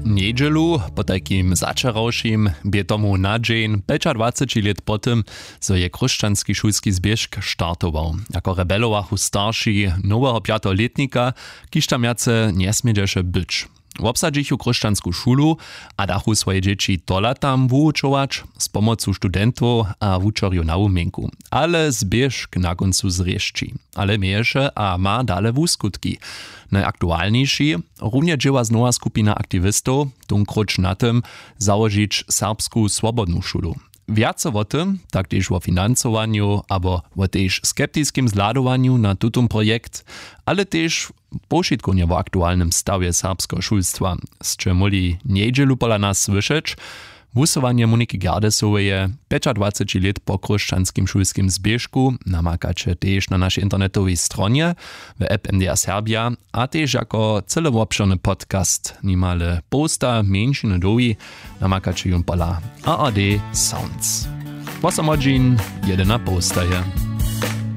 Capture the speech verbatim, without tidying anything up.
Njedźelu, potajkim začerawšim, bě tomu na dźeń pjećadwaceći lět po tym, zo je chróšćanski šulski zběžk startował. Jako rebelowachu starši noweho pjateho lětnika, kiž tam wjace njesmědźeše być. Wobsadźichu chróšćansku šulu a dachu swoje dźěći tola tam wuwučować z pomocu studentow a wučerjow na wuměnku. Ale zběžk na kóncu zrěšći, ale měješe a ma dale wuskutki. Najaktualniši, runje dźěła znowa skupina aktiwistow, tónkróć na tym, załožić serbsku swobodnu šulu. Wjace wo tym, tak tež wo financowanju abo wo tež skeptiskim zhladowanju na tutón projekt, ale tež powšitkownje wo aktualnym stawje serbskeho šulstwa, sće móhli njedźelu pola nas słyšeć. Wusyłanje Moniki Gerdesoweje pjećadwaceći lět po chróšćanskim šulskim zběžku namakaće tež na našej internetowej stronje, w app MDR Serbia, a tež jako cylowobšěrny podcast nimale połsta mjeńšiny dołhi namakaće jón pola ARD Sounds. Wosom hodźin, jedyn a połsta je.